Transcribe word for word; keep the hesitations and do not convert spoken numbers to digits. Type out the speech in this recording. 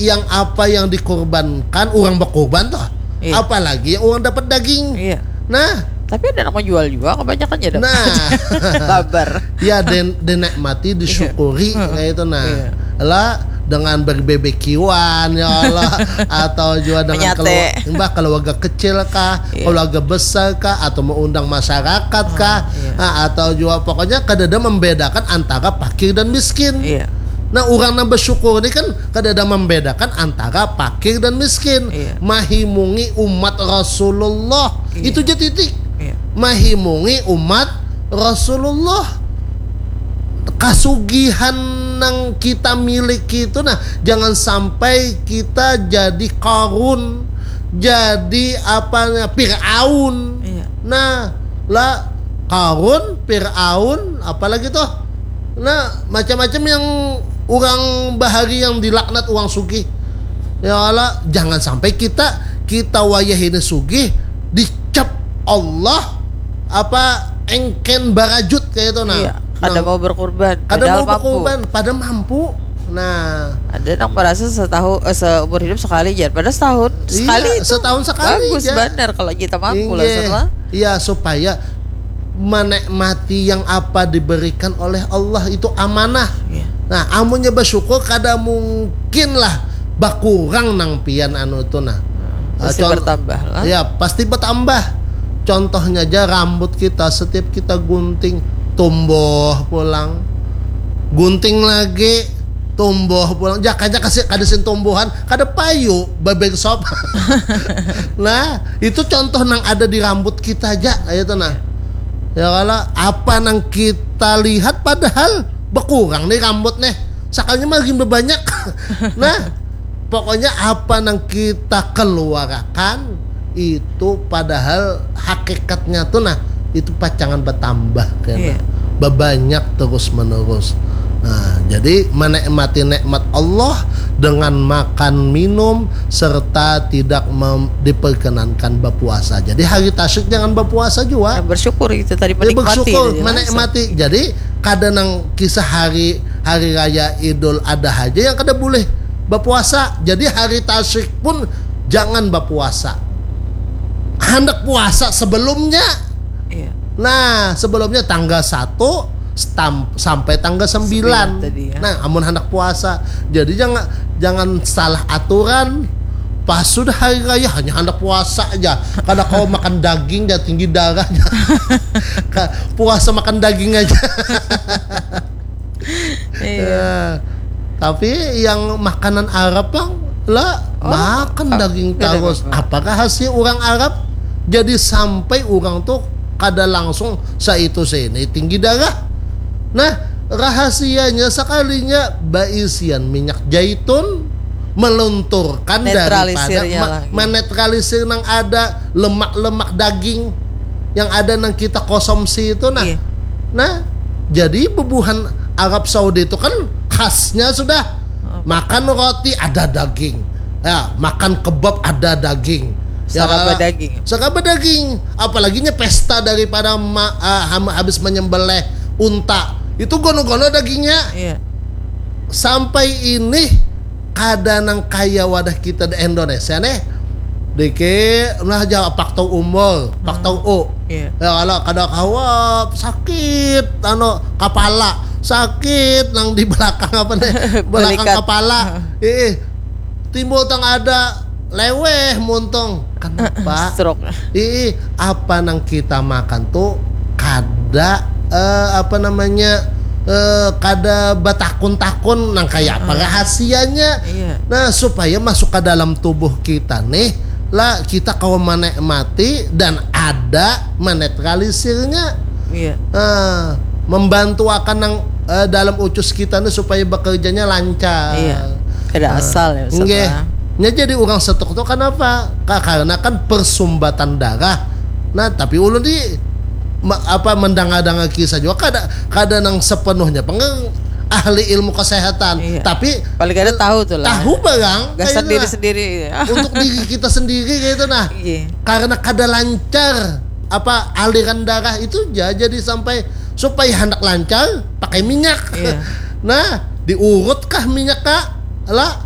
yang apa yang dikorbankan, orang berkorban toh. Iya. Apalagi yang orang dapat daging. Iya. Nah, tapi ada yang menjual juga, kebanyakan ya dapat. Nah. Babar. Ya, den, dinikmati, disyukuri, iya, kayak itu. Nah, iya, lah dengan berbebekiwan ya Allah, atau juga dengan keluarga, mbah, keluarga kecil kah, iya, keluarga besar kah, atau mengundang masyarakat kah, iya, nah, atau juga pokoknya kadada membedakan antara fakir dan miskin. Iya. Nah, orang yang bersyukur ini kan kadada membedakan antara fakir dan miskin. Iya. Mahimungi umat Rasulullah. Iya. Itu je titik. Iya. Mahimungi umat Rasulullah. Kasugihan yang kita miliki itu, nah, jangan sampai kita jadi Karun, jadi apa, Firaun. Iya. Nah, lah, Karun, Firaun, apalagi tuh? Nah, macam-macam yang orang bahari yang dilaknat orang sugih. Ya Allah, jangan sampai kita, kita wayah ini sugih, dicap Allah apa engken barajut kayak itu. Nah, iya, kada mau berkorban, kada mau berkorban, pada mampu. Nah, ada yang merasa setahun, eh, seumur hidup sekali, jar. Pada setahun, iya, sekali itu setahun sekali, bagus, jar. Benar kalau kita mampu lah, iya, sama. Iya, supaya menikmati yang apa diberikan oleh Allah itu amanah. Iya. Nah, amunnya bersyukur kada mungkin lah bakurang nang pian anu itu, nah. Pasti, eh, bertambah lah. Ya, pasti bertambah. Contohnya aja rambut kita, setiap kita gunting, tumbuh pulang. Gunting lagi, tumbuh pulang. Jakanya kasih kada sin tumbuhan, kada payu, babeng sop. Nah, itu contoh nang ada di rambut kita aja, kayak itu, nah. Ya kalau apa nang kita lihat padahal berkurang nih rambut nih. Sakalinya makin berbanyak. Nah, pokoknya apa nang kita keluarkan itu padahal hakikatnya tuh, nah, itu pacangan bertambah, kan? Iya. Berbanyak terus menerus. Nah, jadi menikmati nikmat Allah dengan makan minum serta tidak mem- diperkenankan berpuasa. Jadi hari tasyrik jangan berpuasa juga. Ya, bersyukur itu tadi, ya, menikmati bersyukur, gitu, menikmati. Jadi kada nang kisah hari, hari raya Idul Adha aja yang kada boleh berpuasa. Jadi hari tasyrik pun jangan berpuasa. Hendak puasa sebelumnya. Iya. Nah, sebelumnya tanggal satu stam- sampai tanggal sembilan. Sembilan tadi, ya. Nah, amun hendak puasa. Jadi jangan, jangan salah aturan. Pas sudah hari raya hanya hendak puasa aja. Kada kau makan daging, ya tinggi darahnya. Ka- puasa makan daging aja. Iya. Eh, tapi yang makanan Arab, Bang, lah, oh, makan daging terus. Apa rahasia orang Arab? Jadi sampai orang tuh kada langsung saitu sini tinggi darah. Nah, rahasianya sekalinya baisian minyak zaitun melunturkan daripada menetralisir nang ada lemak-lemak daging yang ada nang kita konsumsi itu, nah. Iya. Nah, jadi bubuhan Arab Saudi itu kan khasnya sudah makan roti ada daging, ya, makan kebab ada daging, ya, serba daging. Serba daging. Apalaginya pesta daripada ma- uh, habis menyembelih unta itu gono-gono dagingnya. Iya. Sampai ini kada nang kaya wadah kita di Indonesia nih. Dikit nah aja pak tau umur, pak tau u. Iya. Ya kalau kada kawa sakit anu kepala, sakit nang di belakang apa nih? Belakang kepala. Ih, timbul tang ada leweh muntung. Kenapa? Stroke. Ih, apa nang kita makan tuh kada eh, apa namanya eh, kada batakun-takun nang kayak apa rahasianya. Iya. Nah, supaya masuk ke dalam tubuh kita nih lah kita kawa menikmati dan ada menetralisirnya. Iya. Nah, membantu akan nang eh, dalam ucus kita nih supaya bekerjanya lancar. Iya. Kada asal ya, Ustaz. Nya jadi orang stroke tuh kenapa? Karena kan persumbatan darah. Nah, tapi ulun di apa mendengar-dengar kisah juga kada kada nang sepenuhnya pengen ahli ilmu kesehatan. Iya. Tapi paling kada tahu tuh lah. Tahu barang gasan diri sendiri. Untuk diri kita sendiri kayak itu nah. Iya. Karena kada lancar apa aliran darah itu ja- jadi sampai supaya hendak lancar pakai minyak. Iya. Nah, diurut kah minyak kak? Lah,